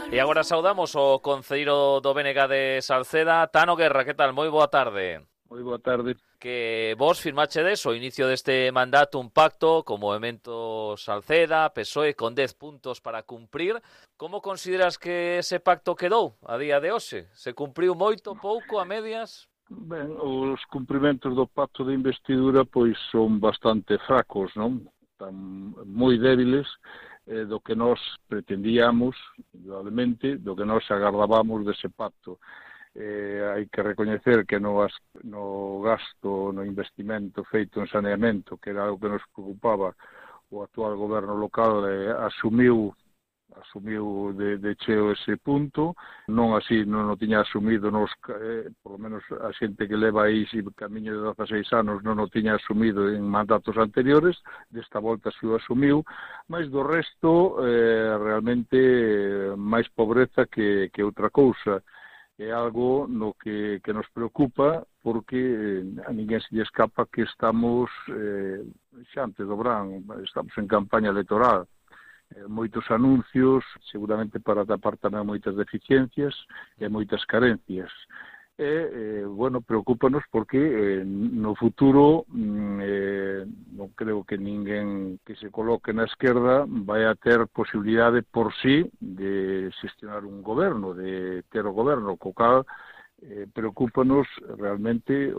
E agora saudamos o concelleiro do BNG de Salceda, Tano Guerra. Que tal? Moi boa tarde. Moi boa tarde. Que vos firmachedes o inicio deste mandato un pacto co Movemento Salceda, PSOE, con 10 puntos para cumprir. Como consideras que ese pacto quedou a día de hoxe? Se cumpriu moito, pouco, a medias? Ben, os cumprimentos do pacto de investidura pois son bastante fracos, non? Están moi débiles do que nós pretendíamos, indudablemente, do que nós agardábamos dese pacto. Hai que recoñecer que no gasto, no investimento feito en saneamento, que era algo que nos preocupaba, o actual goberno local asumiu de cheo ese punto, non así non o tiña asumido por lo menos a xente que leva aí camiño de 16 anos non o tiña asumido en mandatos anteriores, desta volta si o asumiu, mas do resto realmente máis pobreza que outra cousa. É algo no que nos preocupa porque a ninguén se lle escapa que estamos xa antes do verán, estamos en campaña electoral. Moitos anuncios, seguramente para tapar tamén moitas deficiencias e moitas carencias. Bueno, preocúpanos porque no futuro non creo que ninguén que se coloque na esquerda vai a ter posibilidade por sí de xestionar un goberno, de ter o goberno, co cal preocúpanos realmente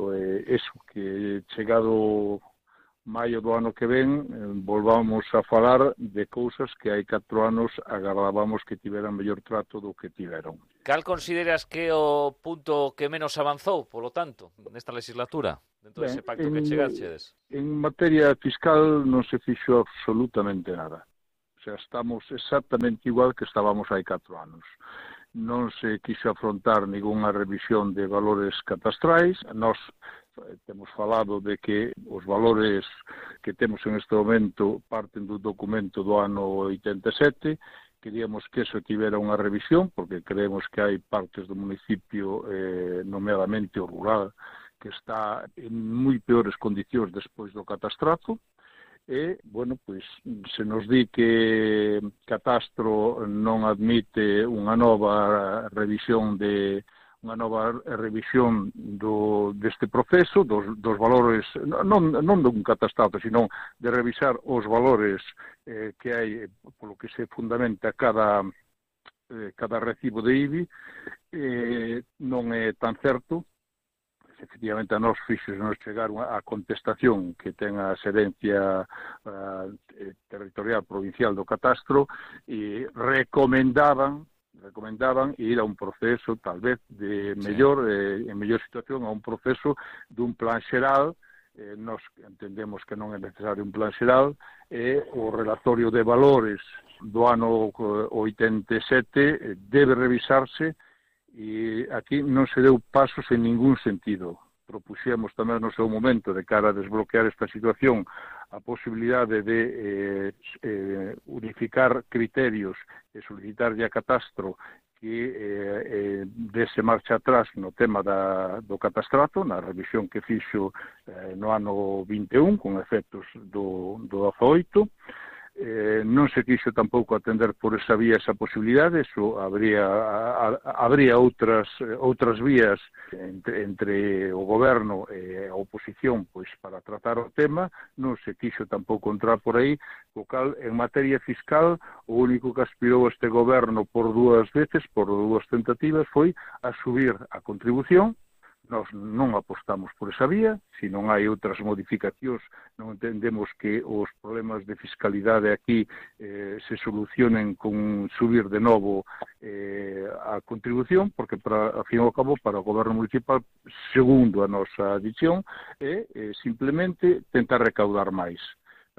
eso, que chegado maio do ano que ven volvamos a falar de cousas que hai 4 anos agardábamos que tiveran mellor trato do que tiveron. Cal consideras que é o punto que menos avanzou, polo tanto, nesta legislatura, dentro dese pacto que chegachedes? En materia fiscal non se fixo absolutamente nada. O sea, estamos exactamente igual que estábamos hai 4 anos. Non se quixo afrontar ninguna revisión de valores catastrais. Nós temos falado de que os valores que temos en este momento parten do documento do ano 87, queríamos que eso tivera unha revisión, porque creemos que hai partes do municipio, nomeadamente o rural, que está en moi peores condicións despois do catastrazo, e, bueno, pois, se nos di que Catastro non admite unha nova revisión deste proceso, dos valores, non dun catastro, sino de revisar os valores que hai, polo que se fundamenta cada recibo de IBI, non é tan certo. Efectivamente, a nos fixos nos chegar a contestación que ten a xerencia territorial provincial do catastro e recomendaban ir a un proceso, tal vez, en mellor situación, a un proceso dun plan xeral. Nos entendemos que non é necesario un plan xeral, e o relatorio de valores do ano 87 debe revisarse, e aquí non se deu pasos en ningún sentido. Propuxemos tamén no seu momento, de cara a desbloquear esta situación, a posibilidade de unificar criterios e solicitarlle a Catastro que dese marcha atrás no tema do catastrato, na revisión que fixo no ano 21, con efectos do 18. Non se quixo tampouco atender por esa vía esa posibilidade, eso habría outras vías entre o goberno e a oposición pois para tratar o tema. Non se quixo tampouco entrar por aí, co cal en materia fiscal o único que aspirou este goberno por 2 veces, por 2 tentativas, foi a subir a contribución. Nós non apostamos por esa vía, se non hai outras modificacións, non entendemos que os problemas de fiscalidade aquí se solucionen con subir de novo a contribución, porque, ao fin e ao cabo, para o goberno municipal, segundo a nosa visión, é simplemente tentar recaudar máis.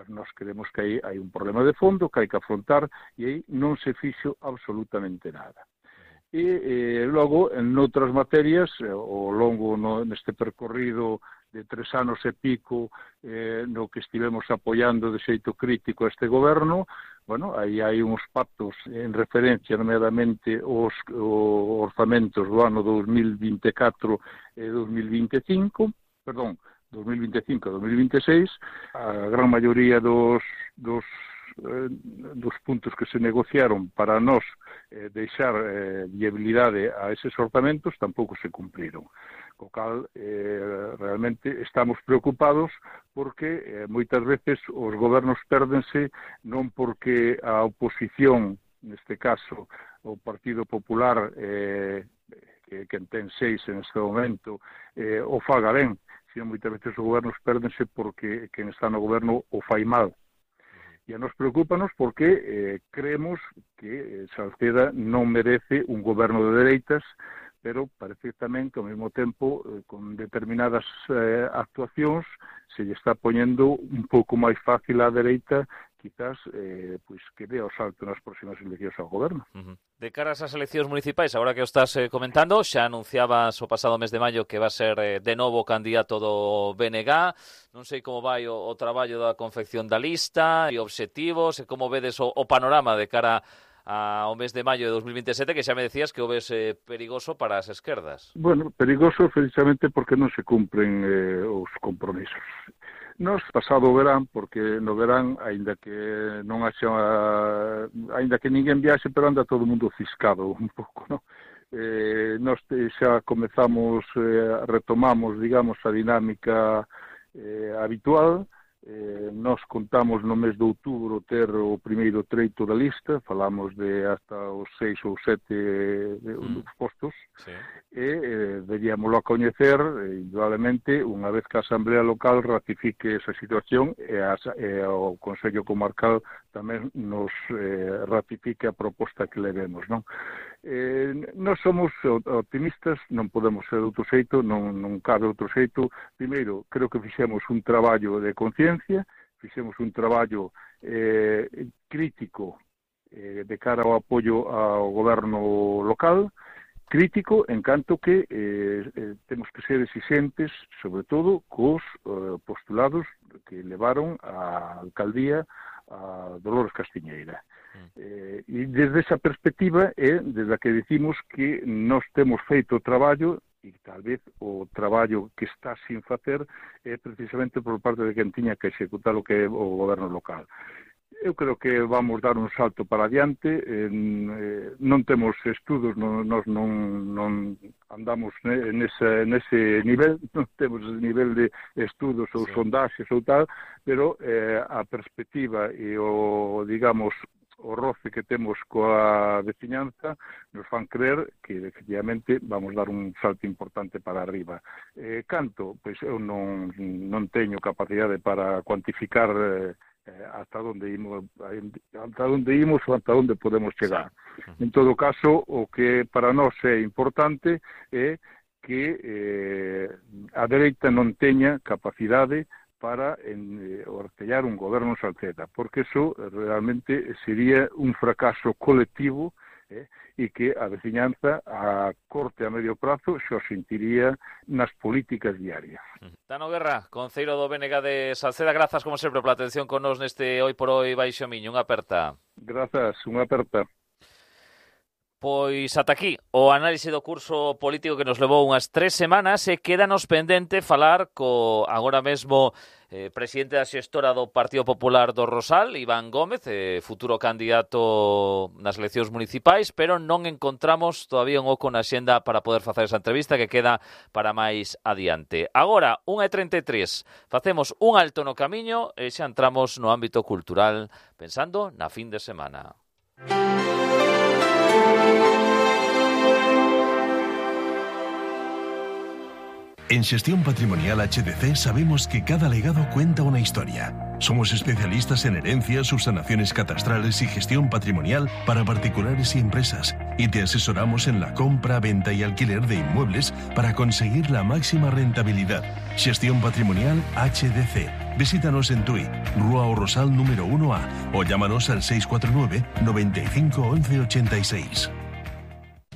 Nós creemos que hai un problema de fondo que hai que afrontar, e aí non se fixo absolutamente nada. E logo, en outras materias, ao longo neste percorrido de 3 anos e pico no que estivemos apoiando de xeito crítico a este goberno, bueno, aí hai uns pactos en referencia, nomeadamente, os orzamentos do ano 2024 e 2025, 2025 e 2026, a gran maioría dos puntos que se negociaron para nós deixar viabilidade a eses orzamentos tampouco se cumpriron. Co cal, realmente estamos preocupados porque moitas veces os gobernos pérdense non porque a oposición, neste caso o Partido Popular, que ten 6 en este momento, o faga ben, sino moitas veces os gobernos pérdense porque quen está no goberno o fai mal. E a nos preocúpanos porque creemos que Salceda non merece un goberno de dereitas, pero parece tamén que ao mesmo tempo, con determinadas actuacións, se lle está poñendo un pouco máis fácil á dereita, quizás pois que dé o salto nas próximas eleccións ao goberno. De cara a esas eleccións municipais, agora que o estás comentando, xa anunciabas o pasado mes de maio que va a ser de novo candidato do BNG. Non sei como vai o traballo da confección da lista e obxectivos, e como vedes o panorama de cara ao mes de maio de 2027, que xa me decías que o ves perigoso para as esquerdas. Bueno, perigoso precisamente porque non se cumpren os compromisos. Nos pasado o verán, porque no verán, aínda que non haxa, aínda que ninguén viaxe, pero anda todo o mundo ciscado un pouco, non? Nos xa comezamos, retomamos, digamos, a dinámica habitual. Nos contamos no mes de outubro ter o primeiro treito da lista, falamos de hasta os 6 ou 7 postos, sí. E deríamoslo a coñecer, indudablemente, unha vez que a Asamblea Local ratifique esa situación e o Consello Comarcal tamén nos ratifique a proposta que levemos, non? Nós somos optimistas, non podemos ser de outro xeito, non cabe outro xeito. Primeiro, creo que fixemos un traballo de conciencia, fixemos un traballo crítico de cara ao apoio ao goberno local, crítico en canto que temos que ser exigentes, sobre todo, cos postulados que levaron a alcaldía a Dolores Castiñeira. E desde esa perspectiva é desde a que decimos que nós temos feito o traballo, e tal vez o traballo que está sin facer é precisamente por parte de quen tiña que executar o que é o goberno local. Eu creo que vamos dar un salto para adiante, non temos estudos, nós non andamos nese nivel, non temos ese nivel de estudos ou sondaxes ou tal, pero a perspectiva e o, digamos, o roce que temos coa veciñanza nos fan creer que efectivamente vamos dar un salto importante para arriba. Canto? Pois eu non teño capacidade para cuantificar hasta onde imos ou hasta onde podemos chegar. En todo caso, o que para nós é importante é que a dereita non teña capacidade para ortellar un goberno en Salceda, porque eso realmente sería un fracaso colectivo e que a veciñanza a corto e a medio prazo se o sentiría nas políticas diarias. Tano Guerra, conceiro do BNG de Salceda, grazas como sempre pola atención con nos neste Hoy por Hoy Baixo Miño. Unha aperta. Grazas, unha aperta. Pois ata aquí o análise do curso político que nos levou unhas 3 semanas e quédanos pendente falar co agora mesmo presidente da xestora do Partido Popular do Rosal, Iván Gómez, futuro candidato nas eleccións municipais, pero non encontramos todavía un oco na xenda para poder facer esa entrevista que queda para máis adiante. Agora, 1:33, facemos un alto no camiño e xa entramos no ámbito cultural pensando na fin de semana. En Xestión Patrimonial HDC sabemos que cada legado cuenta una historia. Somos especialistas en herencias, subsanaciones catastrales y gestión patrimonial para particulares y empresas. Y te asesoramos en la compra, venta y alquiler de inmuebles para conseguir la máxima rentabilidad. Xestión Patrimonial HDC. Visítanos en Tui, Rúa o Rosal número 1A o llámanos al 649 95 11 86.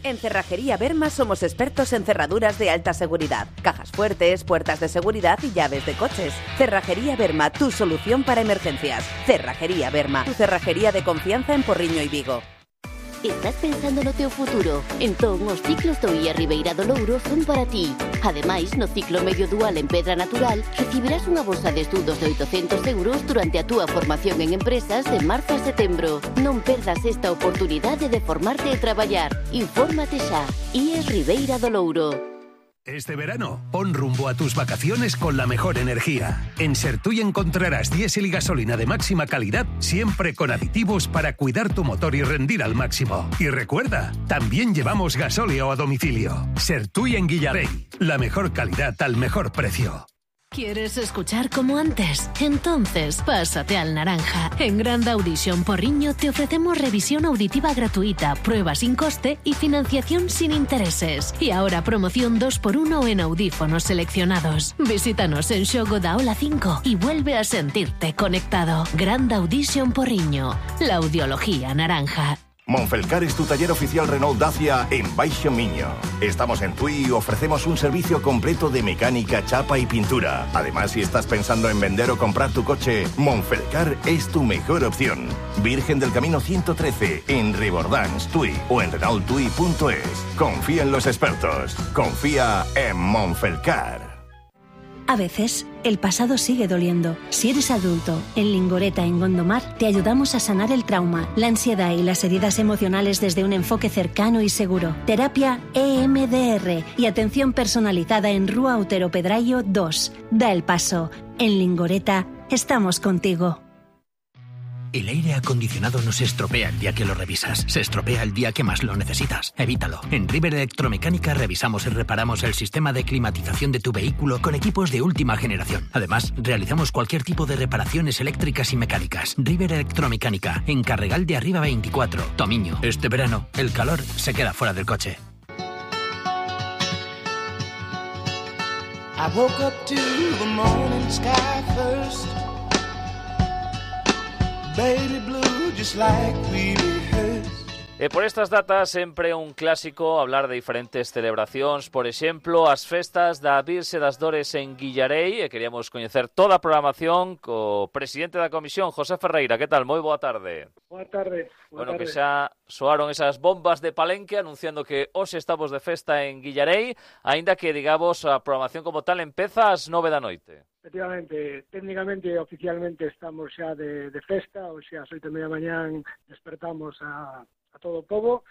En Cerrajería Berma somos expertos en cerraduras de alta seguridad, cajas fuertes, puertas de seguridad y llaves de coches. Cerrajería Berma, tu solución para emergencias. Cerrajería Berma, tu cerrajería de confianza en Porriño y Vigo. Estás pensando no teu futuro? Entón, os ciclos do IA Ribeira do Louro son para ti. Ademais, no ciclo medio dual en Pedra Natural, recibirás unha bolsa de estudos de 800 euros durante a túa formación en empresas de marzo a setembro. Non perdas esta oportunidade de formarte e traballar. Infórmate xa. IA Ribeira do Louro. Este verano, pon rumbo a tus vacaciones con la mejor energía. En Sertuy encontrarás diésel y gasolina de máxima calidad, siempre con aditivos para cuidar tu motor y rendir al máximo. Y recuerda, también llevamos gasóleo a domicilio. Sertuy en Guillarey, la mejor calidad al mejor precio. ¿Quieres escuchar como antes? Entonces, pásate al Naranja. En Grand Audition Porriño te ofrecemos revisión auditiva gratuita, prueba sin coste y financiación sin intereses. Y ahora promoción 2x1 en audífonos seleccionados. Visítanos en Xogo da Ola 5 y vuelve a sentirte conectado. Grand Audition Porriño, la audiología naranja. Monfelcar es tu taller oficial Renault Dacia en Baixo Miño. Estamos en Tui y ofrecemos un servicio completo de mecánica, chapa y pintura. Además, si estás pensando en vender o comprar tu coche, Monfelcar es tu mejor opción. Virgen del Camino 113 en Rebordans, Tui o en renaulttui.es. Confía en los expertos. Confía en Monfelcar. A veces, el pasado sigue doliendo. Si eres adulto, en Lingoreta, en Gondomar, te ayudamos a sanar el trauma, la ansiedad y las heridas emocionales desde un enfoque cercano y seguro. Terapia EMDR y atención personalizada en Rúa Otero Pedrayo 2. Da el paso. En Lingoreta, estamos contigo. El aire acondicionado no se estropea el día que lo revisas, se estropea el día que más lo necesitas. Evítalo. En River Electromecánica revisamos y reparamos el sistema de climatización de tu vehículo con equipos de última generación. Además, realizamos cualquier tipo de reparaciones eléctricas y mecánicas. River Electromecánica, en Carregal de Arriba 24, Tomiño. Este verano, el calor se queda fuera del coche. I woke up to the morning sky first. Baby blue, just like we rehearsed. Por estas datas sempre un clásico hablar de diferentes celebracións, por exemplo, as festas da Virxe das Dores en Guillarei, e queríamos coñecer toda a programación co presidente da comisión, José Ferreira. Que tal? Moi boa tarde. Boa tarde. Bueno, que xa soaron esas bombas de Palenque anunciando que hoxe estamos de festa en Guillarei, aínda que, digamos, a programación como tal empeza ás 9 da noite. Efectivamente, técnicamente e oficialmente estamos xa de festa, hoxe ás 8:30 da mañán despertamos a todo o pobo,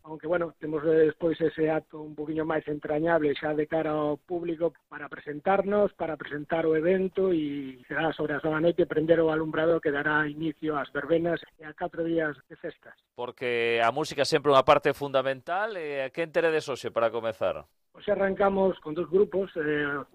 aunque, bueno, temos despois ese acto un poquinho máis entrañable xa de cara ao público para presentarnos, para presentar o evento, e será sobre as 9 da noite prender o alumbrado que dará inicio ás verbenas e a 4 días de festas. Porque a música é sempre unha parte fundamental. Que enteredes hoxe para comezar? Hoxe arrancamos con dos grupos,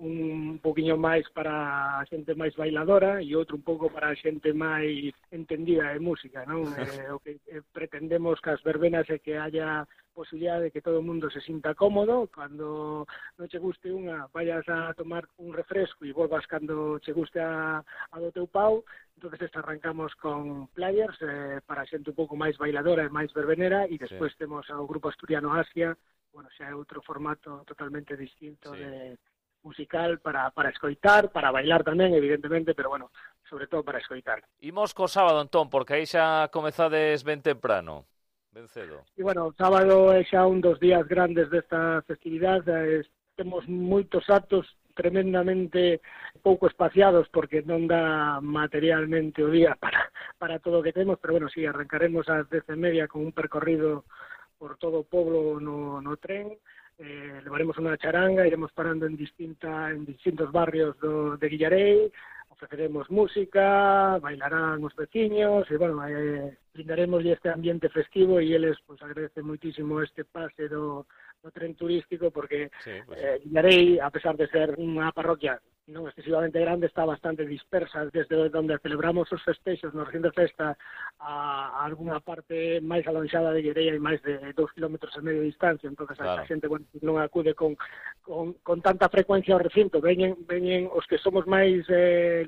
un poquinho máis para a xente máis bailadora e outro un pouco para a xente máis entendida de música, non? O que pretendemos que as verbenas é que haya posibilidade de que todo o mundo se sinta cómodo, cando non che guste unha, vayas a tomar un refresco e volvas cando che guste a do teu pau. Entonces arrancamos con players para a xente un pouco máis bailadora e máis verbenera, e despois temos ao grupo asturiano Asia. Bueno, xa é outro formato totalmente distinto de musical para escoitar, para bailar tamén, evidentemente, pero, bueno, sobre todo para escoitar. Imos co sábado, entón, porque aí xa comezades ben temprano, ben cedo. E, bueno, o sábado é xa un dos días grandes desta festividade. Temos moitos actos tremendamente pouco espaciados porque non dá materialmente o día para todo o que temos, pero, bueno, sí, arrancaremos ás 10:30 con un percorrido por todo o poblo no tren. Levaremos unha charanga, iremos parando en distintos barrios de Guillarei, ofreceremos música, bailarán os veciños, e, bueno, brindaremos este ambiente festivo, e eles pues agradecen moitísimo este pase do tren turístico, porque Guillarei, a pesar de ser unha parroquia non excesivamente grande, está bastante dispersa desde onde celebramos os festeixos no recinto de festa a alguna parte máis alonxada de Guillarei, hai máis de 2,5 kilómetros de distancia. Entonces a xente, bueno, non acude con tanta frecuencia ao recinto. Veñen os que somos máis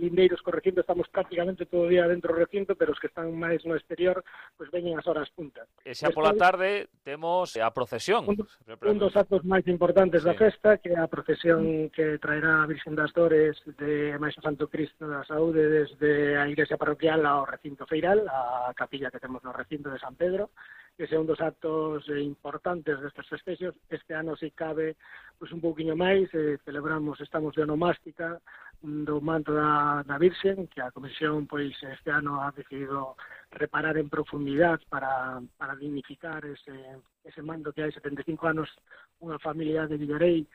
lindeiros co recinto, estamos prácticamente todo o día dentro do recinto, pero os que están máis no exterior, pues veñen as horas puntas. E xa pola tarde temos a procesión. Un dos actos máis importantes da festa, que é a procesión que traerá a Virxen das Dores de Maestro Santo Cristo da Saúde desde a igrexa parroquial ao recinto feiral, a capilla que temos no recinto de San Pedro. ese é un dos actos importantes destes festexos. Este ano, se cabe, pois un pouquiño máis, celebramos, estamos de onomástica do manto da Virxen, que a Comisión pois este ano ha decidido reparar en profundidade para dignificar ese manto que hai 75 anos unha familia de Villarei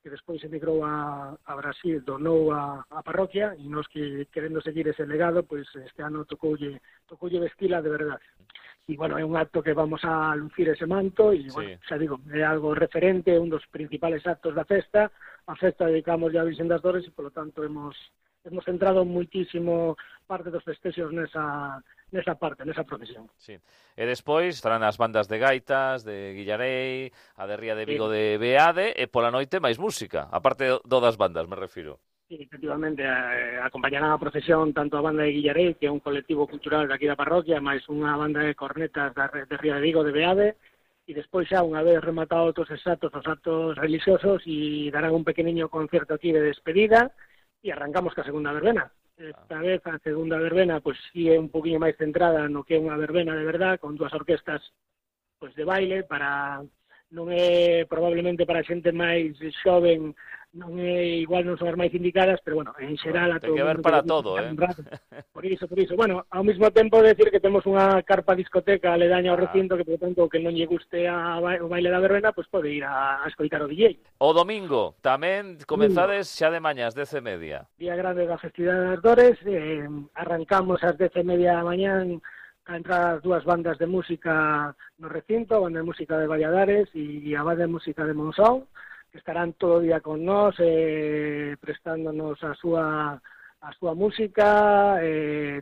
que despois emigrou a Brasil, donou a parroquia, e nos que querendo seguir ese legado, pois este ano tocoulle vestila de verdade. E, bueno, é un acto que vamos a lucir ese manto, e, bueno, xa digo, é algo referente, un dos principales actos da festa. A festa dedicamos ya a Virxen das Dores, e, polo tanto, hemos centrado muitísimo parte dos festexos nesa procesión. Sí. E despois estarán as bandas de gaitas, de Villarei, a de Ría de Vigo de Beade, e pola noite máis música, aparte do das bandas, me refiro. Sí, efectivamente, acompañarán a procesión tanto a banda de Villarei, que é un colectivo cultural de aquí da parroquia, máis unha banda de cornetas de Ría de Vigo de Beade, e despois xa, unha vez rematados os actos religiosos, e darán un pequeniño concerto aquí de despedida, e arrancamos ca segunda verbena. Esta vez a segunda verbena pois sí é un poquinho máis centrada no que é unha verbena de verdad, con dúas orquestas pois de baile, non é probablemente para xente máis xoven, non é igual, non son as máis indicadas, pero bueno, en xeral a todo ten que ver para todo, Por iso, bueno, ao mesmo tempo decir que temos unha carpa discoteca aledaña ao recinto, que por tanto que non lle guste o baile da verbena, pois pode ir a escoitar o DJ. O domingo tamén comenzades xa de mañá, ás 10:30. Día grande da festividade das Dores, arrancamos ás 10:30 da mañán a entrar as dúas bandas de música no recinto, a banda de música de Valladares e a banda de música de Monzón, que estarán todo o día con nós, prestándonos a súa música,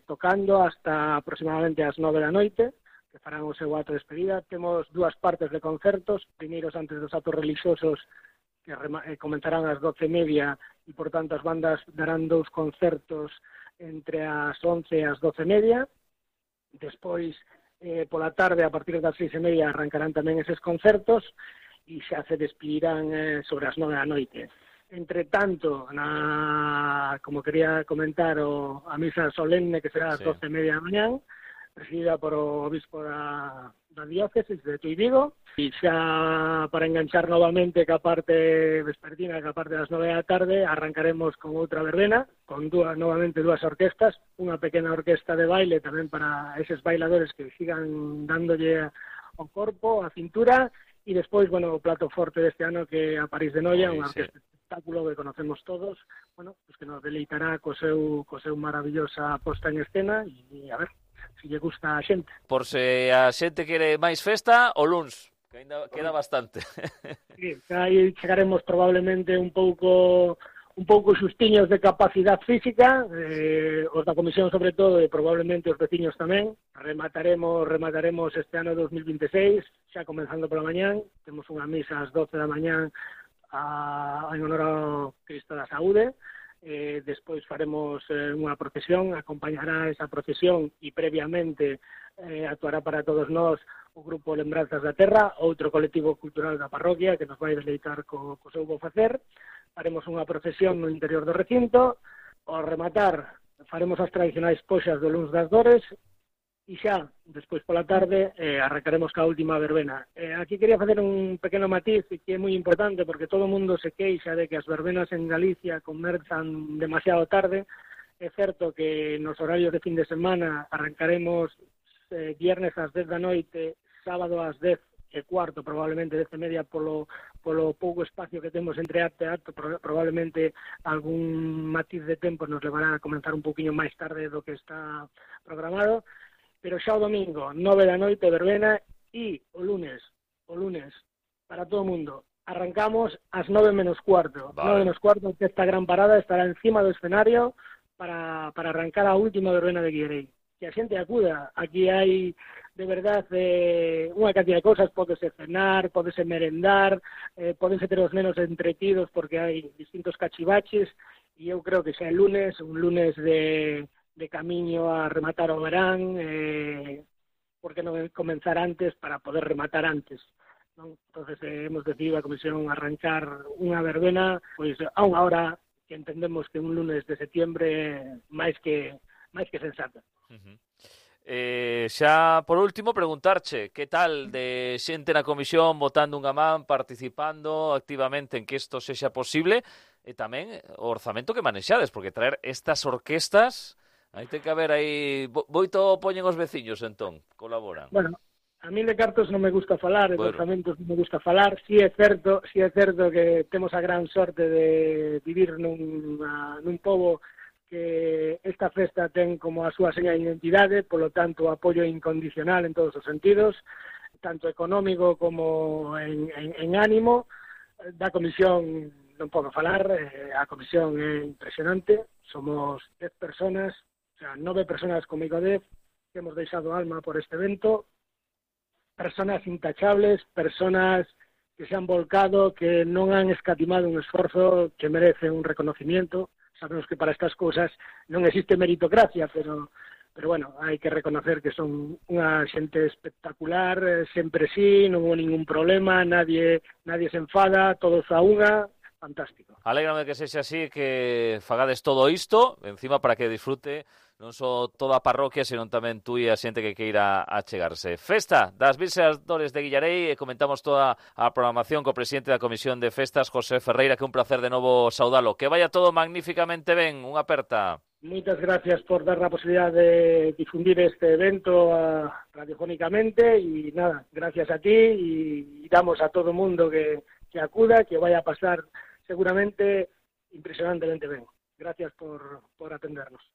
tocando hasta aproximadamente as 9 da noite, que farán o seu acto de despedida. Temos dúas partes de concertos, primeiros antes dos actos religiosos, que comenzarán ás 12:30, e, por tanto, as bandas darán dous concertos entre as 11 e as 12:30. Despois, pola tarde, a partir das 6:30, arrancarán tamén eses concertos e xa se despedirán sobre as 9 da noite. Entre tanto, como quería comentar, a misa solemne, que será ás 12:30 da mañán, presidida por o obispo da diócesis de Tui Vigo, e xa para enganchar novamente ca parte vespertina, ca parte das 9 da tarde, arrancaremos con outra verbena, con novamente dúas orquestas, unha pequena orquesta de baile tamén para eses bailadores que sigan dándolle ao corpo, a cintura, e despois, bueno, o plato forte deste ano, que é a París de Noia, unha orquesta espectáculo que conocemos todos, bueno, pues que nos deleitará co seu maravillosa posta en escena, e a ver se lle gusta a xente. Por se a xente quere máis festa, o luns, que ainda queda bastante. Sí, aí chegaremos probablemente un pouco xustiños de capacidade física, os da comisión sobre todo, e probablemente os veciños tamén. Remataremos este ano 2026, xa comenzando pola mañán. Temos unha misa ás 12 da mañán en honor ao Cristo da Saúde. Despois faremos unha procesión, acompañará esa procesión, e previamente actuará para todos nós o grupo Lembranzas da Terra, outro colectivo cultural da parroquia que nos vai deleitar co seu bo facer. Faremos unha procesión no interior do recinto. Ao rematar faremos as tradicionais poxas do luns das Dores, e xa, despois pola tarde, arrancaremos ca última verbena. Aquí quería facer un pequeno matiz que é moi importante, porque todo o mundo se queixa de que as verbenas en Galicia comenzan demasiado tarde. É certo que nos horarios de fin de semana arrancaremos viernes ás 10 da noite, sábado ás 10:15, probablemente 10:30, polo pouco espacio que temos entre acto e acto. Probablemente algún matiz de tempo nos levará a comenzar un poquinho máis tarde do que está programado. Pero xa o domingo, 9 da noite, verbena, e o lunes, para todo o mundo, arrancamos ás 9:15. Vale. 9:15, que esta gran parada estará encima do escenario para arrancar a última verbena de Guillerei. Que a xente acuda. Aquí hai, de verdade, unha cantidad de cousas. Pódese cenar, pódese merendar, pódense ter os nenos entretidos porque hai distintos cachivaches, e eu creo que xa é un lunes de camiño a rematar o verán, porque non comenzar antes para poder rematar antes, non? Entonces hemos decidido a comisión arrancar unha verbena pois a unha hora que entendemos que un lunes de setiembre máis que sensata. Xa, por último, preguntarche que tal de xente na comisión votando unha man, participando activamente en que isto sexa posible, e tamén o orzamento que manexades, porque traer estas orquestas, aí ten que haber aí... Boito poñen os veciños, entón, colaboran. Bueno, a mí de cartos non me gusta falar, de orzamentos non me gusta falar. Si é certo que temos a gran sorte de vivir nun pobo que esta festa ten como a súa seña de identidade, polo tanto, apoio incondicional en todos os sentidos, tanto económico como en ánimo. Da comisión non podo falar, a comisión é impresionante, somos 10 personas, o sea, 9 personas comigo 10, que hemos deixado alma por este evento, personas intachables, personas que se han volcado, que non han escatimado un esforzo que merece un reconocimiento. Sabemos que para estas cousas non existe meritocracia, pero bueno, hai que reconocer que son unha xente espectacular, sempre sí, non hubo ningún problema, nadie se enfada, todos a unha, fantástico. Alégrame que sexa así, que fagades todo isto, encima para que disfrute non só toda a parroquia, senón tamén tú e a xente que queira achegarse. Festa das Virxes Dores de Guillarei, e comentamos toda a programación co presidente da Comisión de Festas, José Ferreira, que un placer de novo saudalo. Que vaya todo magníficamente ben, unha aperta. Moitas gracias por dar a posibilidade de difundir este evento radiofónicamente, e nada, gracias a ti, e damos a todo o mundo que acuda, que vaya a pasar seguramente impresionantemente ben. Gracias por atendernos.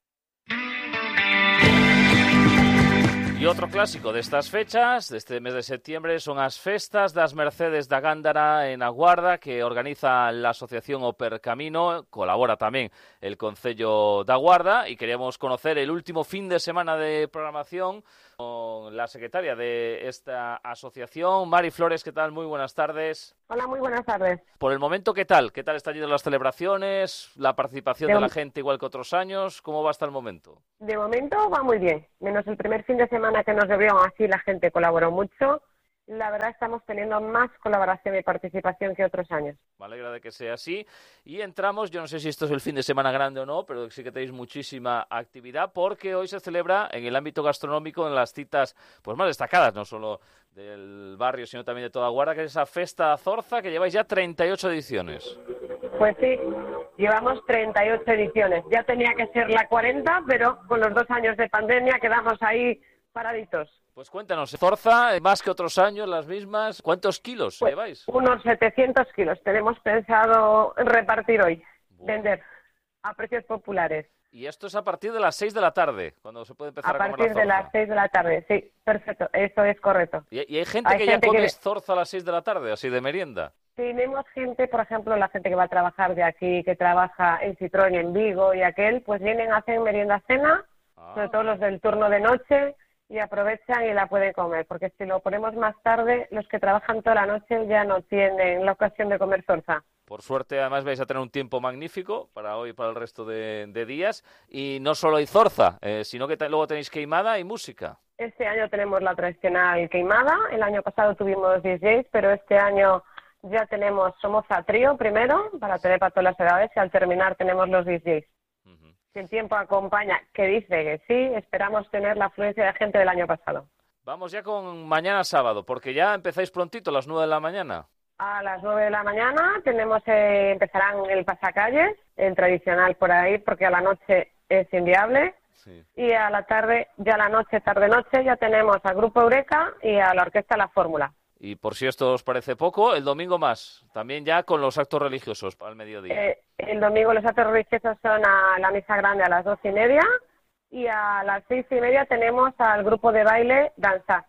E outro clásico destas fechas, deste mes de septiembre, son as festas das Mercedes da Gándara en A Guarda, que organiza la asociación Oper Camino, colabora tamén el Concello da Guarda, y queríamos conocer el último fin de semana de programación con la secretaria de esta asociación, Mari Flores. ¿Qué tal? Muy buenas tardes. Hola, muy buenas tardes. Por el momento, ¿qué tal? ¿Qué tal están yendo las celebraciones? ¿La participación de la gente igual que otros años? ¿Cómo va hasta el momento? De momento va muy bien, menos el primer fin de semana que nos debió, así la gente colaboró mucho. La verdad estamos teniendo más colaboración y participación que otros años. Me alegra de que sea así. Y entramos, yo no sé si esto es el fin de semana grande o no, pero sí que tenéis muchísima actividad, porque hoy se celebra en el ámbito gastronómico, en las citas pues más destacadas, no solo del barrio, sino también de toda Guarda, que es esa Festa Zorza, que lleváis ya 38 ediciones. Pues sí, llevamos 38 ediciones. Ya tenía que ser la 40, pero con los 2 años de pandemia quedamos ahí paraditos. Pues cuéntanos, Zorza, más que otros años, las mismas. ¿Cuántos kilos lleváis? Unos 700 kilos. Tenemos pensado repartir hoy, vender a precios populares. Y esto es a partir de las 6 de la tarde, cuando se puede empezar a comer la zorza. A partir de las 6 de la tarde, sí, perfecto, eso es correcto. ¿Y hay gente que ya come zorza a las 6 de la tarde, así de merienda? Tenemos gente, por ejemplo, la gente que va a trabajar de aquí, que trabaja en Citroën, en Vigo y aquel, pues vienen, hacen merienda cena, sobre todo los del turno de noche, y aprovechan y la pueden comer, porque si lo ponemos más tarde, los que trabajan toda la noche ya no tienen la ocasión de comer zorza. Por suerte, además, vais a tener un tiempo magnífico para hoy y para el resto de días. Y no solo hay zorza, sino que luego tenéis queimada y música. Este año tenemos la tradicional queimada. El año pasado tuvimos DJs, pero este año ya tenemos Somoza Trío primero, para tener para todas las edades, y al terminar tenemos los DJs. Si el tiempo acompaña, que dice que sí, esperamos tener la afluencia de gente del año pasado. Vamos ya con mañana sábado, porque ya empezáis prontito, a las 9 de la mañana. A las 9 de la mañana tenemos empezarán el pasacalles, el tradicional por ahí, porque a la noche es inviable. Sí. Y a la tarde, ya a la noche, tarde-noche, ya tenemos al Grupo Eureka y a la Orquesta La Fórmula. Y por si esto os parece poco, el domingo más, también ya con los actos religiosos al mediodía. El domingo los actos religiosos son a la misa grande a las 12:30 y a las 6:30 tenemos al grupo de baile Danza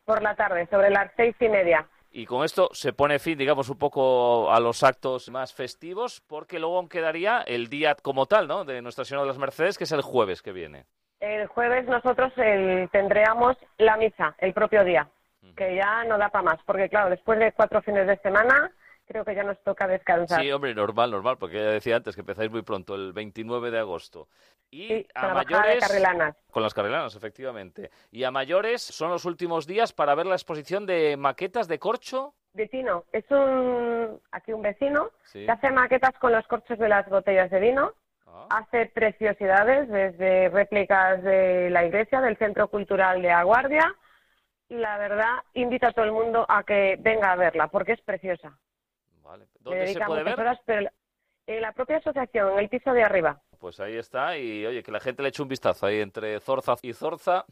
por la tarde, sobre las 6:30. Y con esto se pone fin, digamos, un poco a los actos más festivos, porque luego quedaría el día como tal, ¿no?, de Nuestra Señora de las Mercedes, que es el jueves que viene. El jueves nosotros tendríamos la misa, el propio día, que ya no da para más, porque claro, después de 4 fines de semana, creo que ya nos toca descansar. Sí, hombre, normal, porque ya decía antes que empezáis muy pronto, el 29 de agosto. Y sí, a mayores, con las carrelanas, efectivamente. Y a mayores son los últimos días para ver la exposición de maquetas de corcho. De Tino, es aquí un vecino que hace maquetas con los corchos de las botellas de vino. hace preciosidades, desde réplicas de la iglesia, del Centro Cultural de Aguardia. La verdad, invito a todo el mundo a que venga a verla, porque es preciosa. Vale. ¿Dónde se puede ver? Horas, pero en la propia asociación, en el piso de arriba. Pues ahí está, y oye, que la gente le eche un vistazo ahí entre Zorza y Zorza,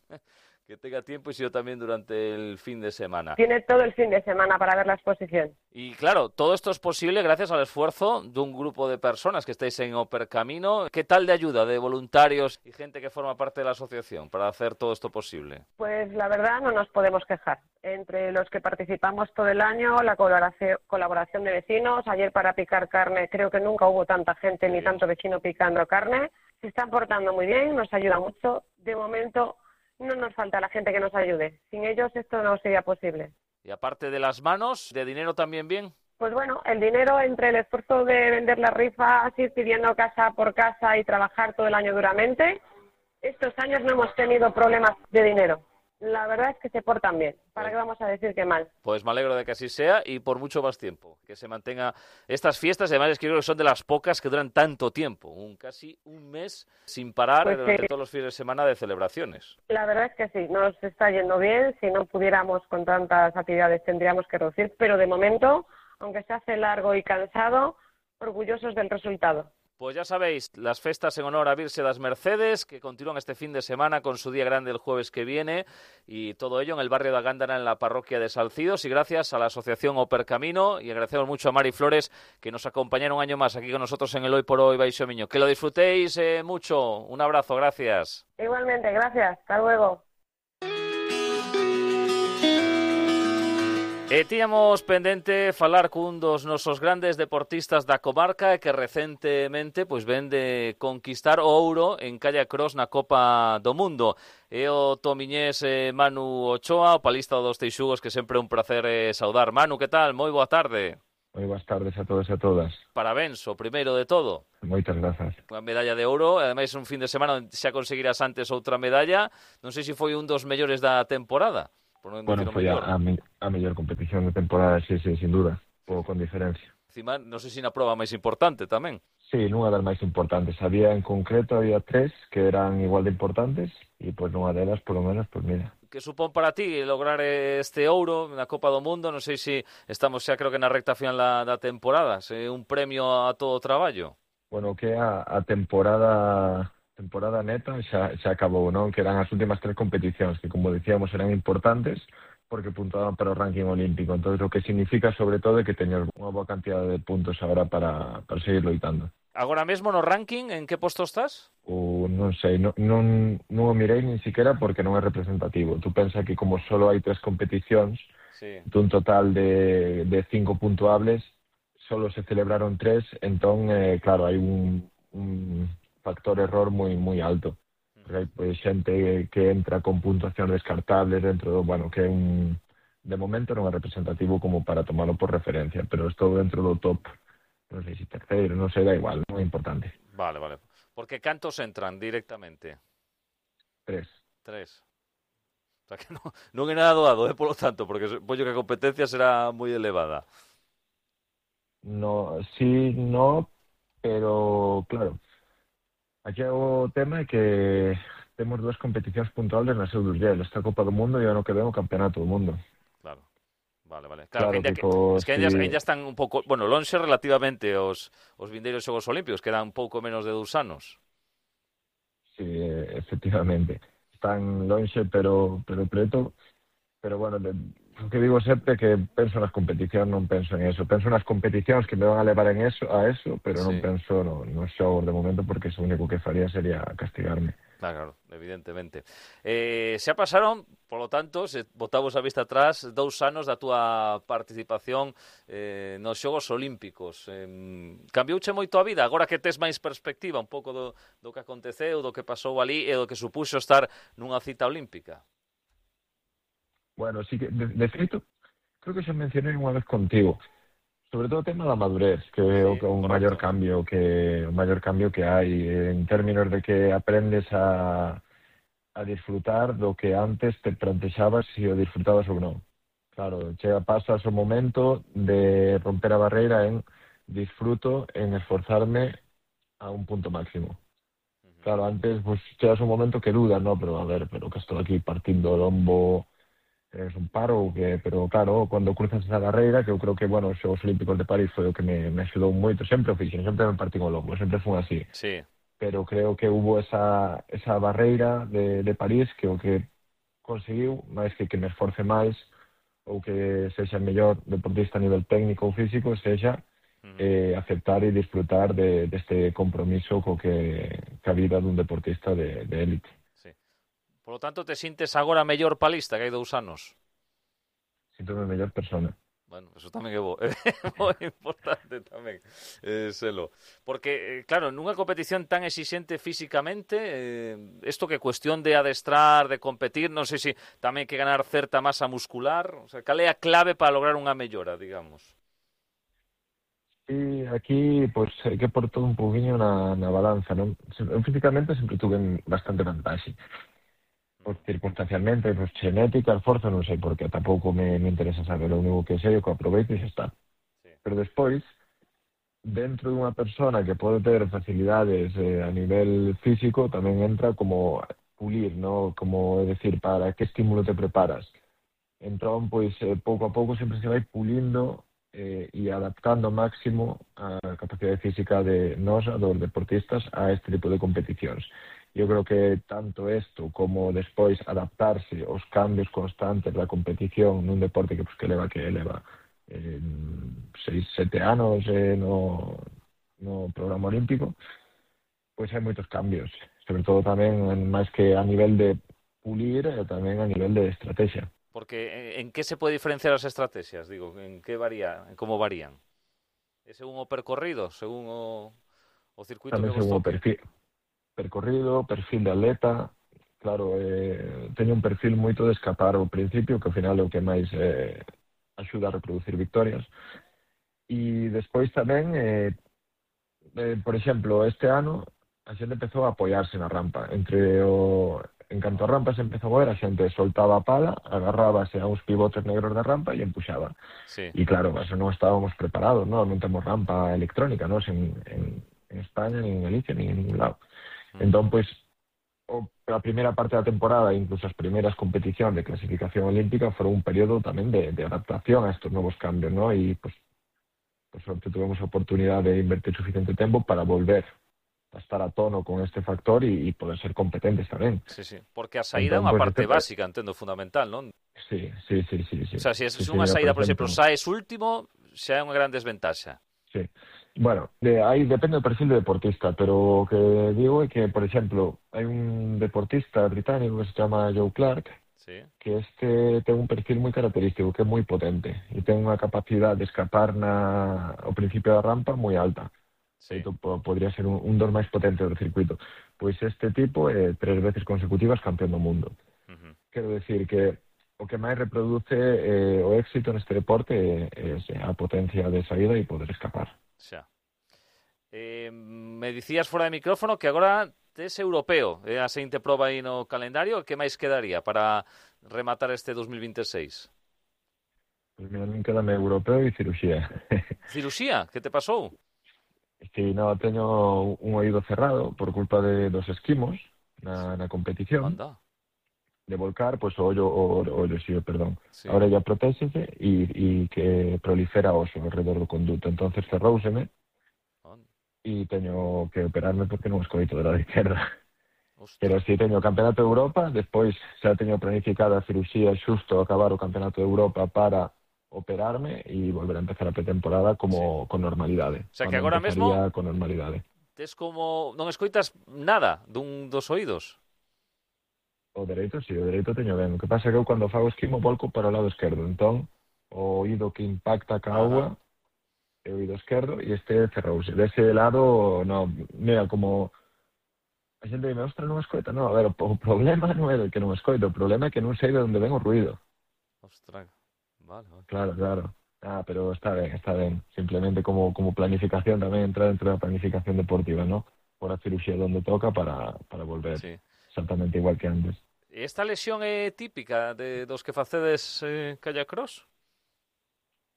que tenga tiempo y si yo también durante el fin de semana. Tiene todo el fin de semana para ver la exposición. Y claro, todo esto es posible gracias al esfuerzo de un grupo de personas que estáis en Opercamino. ¿Qué tal de ayuda de voluntarios y gente que forma parte de la asociación para hacer todo esto posible? Pues la verdad no nos podemos quejar. Entre los que participamos todo el año, la colaboración de vecinos. Ayer para picar carne creo que nunca hubo tanta gente ni tanto vecino picando carne. Se están portando muy bien, nos ayuda mucho. De momento no nos falta la gente que nos ayude. Sin ellos esto no sería posible. Y aparte de las manos, ¿de dinero también bien? Pues bueno, el dinero entre el esfuerzo de vender las rifas, ir pidiendo casa por casa y trabajar todo el año duramente, estos años no hemos tenido problemas de dinero. La verdad es que se portan bien. ¿Para qué vamos a decir que mal? Pues me alegro de que así sea y por mucho más tiempo. Que se mantenga estas fiestas. Además, es que creo que son de las pocas que duran tanto tiempo. Casi un mes sin parar Pues durante todos los fines de semana de celebraciones. La verdad es que sí, nos está yendo bien. Si no pudiéramos con tantas actividades tendríamos que reducir. Pero de momento, aunque se hace largo y cansado, orgullosos del resultado. Pues ya sabéis, las festas en honor a Virse das Mercedes, que continúan este fin de semana con su día grande el jueves que viene, y todo ello en el barrio de Agándara, en la parroquia de Salcidos, y gracias a la asociación Opercamino, y agradecemos mucho a Mari Flores, que nos acompañaron un año más aquí con nosotros en el Hoy por Hoy Baixo Miño. Que lo disfrutéis mucho, un abrazo, gracias. Igualmente, gracias, hasta luego. Tiñamos pendente falar cun dos nosos grandes deportistas da comarca que recentemente pois ven de conquistar o ouro en Calle Cross na Copa do Mundo. É o tomiñés Manu Ochoa, o palista dos Teixugos, que sempre é un placer saudar. Manu, que tal? Moi boa tarde. Moi boas tardes a todos e a todas. Parabéns, o primeiro de todo. Moitas grazas. Unha medalla de ouro, ademais un fin de semana onde xa conseguirás antes outra medalla. Non sei se foi un dos mellores da temporada. Bueno, foi a mellor competición de temporada, sí, sin duda, con diferencia. Encima, non sei se na prova máis importante tamén. Sí, nunha das máis importantes. Había 3 que eran igual de importantes e pois nunha delas, polo menos, pois mira. Que supón para ti lograr este ouro na Copa do Mundo? Non sei se estamos xa creo que na recta final da temporada, se un premio a todo o traballo. Bueno, que a temporada neta xa acabou, non? Que eran as últimas 3 competicións que, como decíamos, eran importantes porque puntuaban para o ranking olímpico. Entón, o que significa, sobre todo, é que teñas unha boa cantidad de puntos agora para seguir loitando. Agora mesmo no ranking, en que posto estás? Non sei, non o mirei nin siquiera porque non é representativo. Tú pensa que como só hai 3 competicións, sí, dun total de 5 puntuables, só se celebraron 3, entón, claro, hai un factor error moi alto. Porque hai pois, xente que entra con puntuación descartable dentro do, bueno, que é de momento non é representativo como para tomarlo por referencia, pero estou dentro do top, non sei se terceiro, non sei, da igual, non é importante. Vale. Porque cantos entran directamente? 3. O sea que non é nada doado, polo tanto, porque supoño que a competencia será moi elevada. No, sí, no, pero claro, aquí o tema é que temos 2 competicións puntuales na seu Durgel, esta Copa do Mundo e ano que ven o Campeonato do Mundo. Claro. Vale. Claro, que ainda están un pouco, bueno, lonxe relativamente os vindeiros Xogos Olímpicos, que eran un pouco menos de 2 anos. Sí, efectivamente. Están lonxe, pero preto. Pero bueno, o que digo sempre que penso nas competicións, non penso en eso. Penso nas competicións que me van a levar a eso, pero non penso nos xogos de momento, porque o único que faría sería castigarme. Claro, evidentemente. Xa pasaron, polo tanto, se botamos a vista atrás, 2 anos da túa participación nos Xogos Olímpicos. Cambiouche moito a vida, agora que tes máis perspectiva un pouco do que aconteceu, do que pasou ali e do que supuxo estar nunha cita olímpica? Bueno, sí que, de feito, creo que xa mencionei unha vez contigo, sobre todo o tema da madurez, que é o maior cambio que hai en términos de que aprendes a disfrutar do que antes te plantexabas se o disfrutabas ou non. Claro, pasas o momento de romper a barreira en disfruto, en esforzarme a un punto máximo. Claro, antes pues chegas un momento que dudas, ¿no? Pero a ver, pero que estou aquí partindo o lombo, es un paro, pero claro, cando cruzas esa barreira, que eu creo que, bueno, os Xogos Olímpicos de París foi o que me axudou moito, sempre o fixen, sempre me partín o lombo, sempre fun así. Sí. Pero creo que hubo esa barreira de París que o que conseguiu, máis que me esforce máis ou que sexa mellor deportista a nivel técnico ou físico, sexa aceptar e disfrutar deste compromiso co que a vida dun deportista de élite. Sí. Por lo tanto, te sintes agora mellor palista que hai 2 anos? Síntome mellor persona. Bueno, eso tamén é moi importante tamén, selo. Porque, claro, nunha competición tan exixente físicamente, isto que cuestión de adestrar, de competir, non sei se tamén que ganar certa masa muscular, o sea, cal é a clave para lograr unha mellora, digamos? E aquí, pois, hai que por todo un pouquiño na balanza, non? Eu físicamente sempre tuve bastante vantaxe. Pois, circunstancialmente, pois, genética, esforzo, non sei, porque tampouco me interesa saber, o único que sei é que aproveito e xa está. Sí. Pero despois, dentro dunha persona que pode ter facilidades a nivel físico, tamén entra como pulir, ¿no? Como, é dicir, para que estímulo te preparas. Entón, pois, pouco a pouco sempre se vai pulindo e adaptando ao máximo a capacidade física de nós, dos deportistas, a este tipo de competicións. Eu creo que tanto isto como despois adaptarse aos cambios constantes da competición nun deporte que leva 6-7 anos no programa olímpico, pois hai moitos cambios, sobre todo tamén máis que a nivel de pulir e tamén a nivel de estrategia. Porque en que se pode diferenciar as estrategias? Digo, en que varía, en como varían? É según o percorrido, según o circuito tamén que vos toque? Percorrido, perfil de atleta, claro, teño un perfil moito de escapar ao principio, que ao final é o que máis axuda a reproducir victorias, e despois tamén, por exemplo, este ano a xente empezou a apoiarse na rampa, en canto a rampa se empezou a ver, a xente soltaba a pala, agarrábase a uns pivotes negros da rampa e empuxaba. Sí. E claro, eso non estábamos preparados, non temos rampa electrónica, non en España, ni en Galicia, ni en ningún lado. Entón, pois, a primeira parte da temporada, incluso as primeiras competicións de clasificación olímpica, foron un período tamén de adaptación a estos novos cambios, non? E, pois, por sorte, tuvemos a oportunidade de invertir suficiente tempo para volver a estar a tono con este factor e poder ser competentes tamén. Sí, sí, porque a saída é unha parte básica, entendo, fundamental, non? Sí. O sea, se é unha saída, por exemplo, saes último, xa é unha gran desventaxa. Sí. Bueno, aí depende do perfil do deportista, pero o que digo é que, por exemplo, hai un deportista británico que se chama Joe Clark, sí, que ten un perfil moi característico, que é moi potente, e ten unha capacidade de escapar ao principio da rampa moi alta. Sí. Podría ser un dos máis potentes do circuito. Pois este tipo é 3 veces consecutivas campeón do mundo. Quero decir que o que máis reproduce o éxito neste deporte é a potencia de saída e poder escapar. Xa. Me dicías fora de micrófono que agora tes europeo, a seguinte proba aí no calendario. Que máis quedaría para rematar este 2026? Pois mira, non quedame europeo e cirurxía. Cirurxía? Que te pasou? Sí, no, teño un oído cerrado por culpa dos esquimos na competición. Anda. De volcar, pois o ollo, perdón. Sí. A orella protéxese e que prolifera oso alrededor do conduto. Entonces cerrouseme e teño que operarme porque non escoito do lado izquierda. Pero si teño o Campeonato de Europa, despois xa teño planificada a cirurxía xusto acabar o Campeonato de Europa para operarme e volver a empezar a pretemporada con normalidade. O sea, que agora mesmo con normalidade. Tes como non escoitas nada dos oídos. O dereito, sí, o dereito teño ben. O que pasa é que eu cando fago esquimo volco para o lado esquerdo. Entón, o oído que impacta ca agua é o oído esquerdo e este cerrouse. Dese lado, no, mira, como a xente dime, ostra, non escoita. No, a ver, o problema non é que non escoito, o problema é que non sei de onde ven o ruido. Ostras. Vale. Claro. Pero está ben. Simplemente como planificación tamén entra dentro da planificación deportiva, ¿no? Por a cirugía donde toca para volver exactamente igual que antes. Esta lesión é típica dos que facedes kayak cross?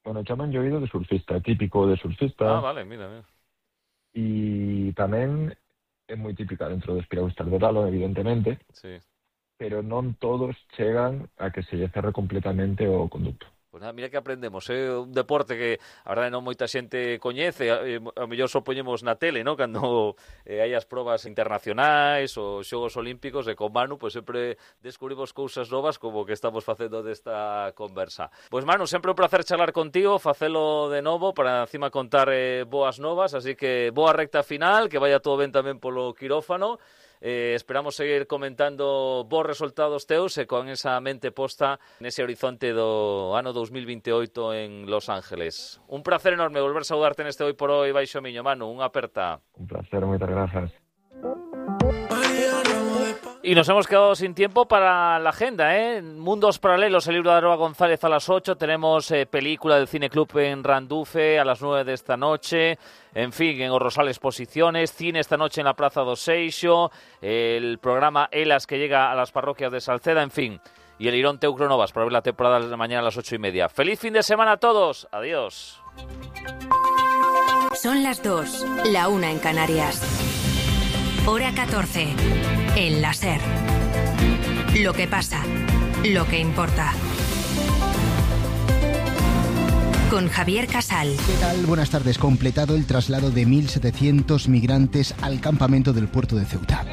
Bueno, chaman oído de surfista, típico de surfista. Vale, mira. E tamén é moi típica dentro dos piragüistas do Ralo, evidentemente, sí. Pero non todos chegan a que se lle cerre completamente o conducto. Pois nada, mira que aprendemos, un deporte que a verdade non moita xente coñece, a mellor só poñemos na tele, ¿no? Cando hai as probas internacionais ou xogos olímpicos, e con Manu, pois sempre descubrimos cousas novas como que estamos facendo desta conversa. Pois Manu, sempre un placer charlar contigo, facelo de novo para encima contar boas novas, así que boa recta final, que vaya todo ben tamén polo quirófano. Esperamos seguir comentando bons resultados teus e con esa mente posta nese horizonte do ano 2028 en Los Ángeles. Un placer enorme volver a saudarte neste Hoy por Hoy Baixo Miño, Manu, unha aperta. Un placer, moitas grazas. Y nos hemos quedado sin tiempo para la agenda, Mundos Paralelos, el libro de Aroa González a las 8. Tenemos película del Cine Club en Randufe a las 9 de esta noche. En fin, en Orrosal Exposiciones, cine esta noche en la Plaza do Seixo, el programa Elas que llega a las parroquias de Salceda, en fin. Y el Irón Teucro Novas para ver la temporada de mañana a las 8:30. ¡Feliz fin de semana a todos! ¡Adiós! Son las 2, la 1 en Canarias. Hora 14. En la SER. Lo que pasa, lo que importa. Con Javier Casal. ¿Qué tal? Buenas tardes. Completado el traslado de 1.700 migrantes al campamento del puerto de Ceuta.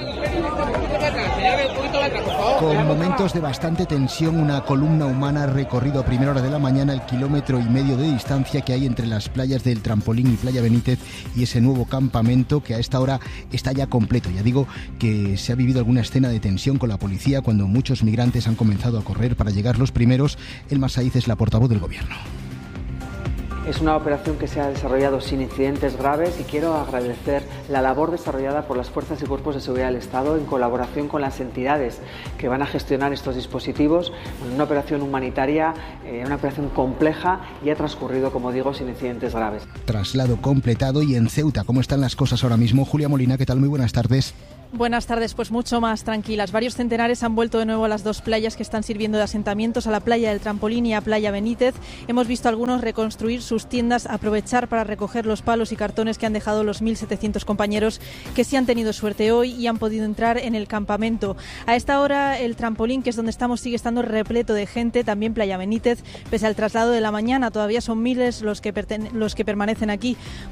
Con momentos de bastante tensión, una columna humana ha recorrido a primera hora de la mañana el 1,5 kilómetros de distancia que hay entre las playas del Trampolín y Playa Benítez y ese nuevo campamento que a esta hora está ya completo. Ya digo que se ha vivido alguna escena de tensión con la policía cuando muchos migrantes han comenzado a correr para llegar los primeros. Elma Saiz es la portavoz del Gobierno. Es una operación que se ha desarrollado sin incidentes graves y quiero agradecer la labor desarrollada por las fuerzas y cuerpos de seguridad del Estado en colaboración con las entidades que van a gestionar estos dispositivos. Una operación humanitaria, una operación compleja y ha transcurrido, como digo, sin incidentes graves. Traslado completado. Y en Ceuta, ¿cómo están las cosas ahora mismo? Julia Molina, ¿qué tal? Muy buenas tardes. Buenas tardes, pues mucho más tranquilas. Varios centenares han vuelto de nuevo a las dos playas que están sirviendo de asentamientos, a la playa del Trampolín y a Playa Benítez. Hemos visto a algunos reconstruir sus tiendas, aprovechar para recoger los palos y cartones que han dejado los 1.700 compañeros que sí han tenido suerte hoy y han podido entrar en el campamento. A esta hora el Trampolín, que es donde estamos, sigue estando repleto de gente, también Playa Benítez, pese al traslado de la mañana. Todavía son miles los que permanecen aquí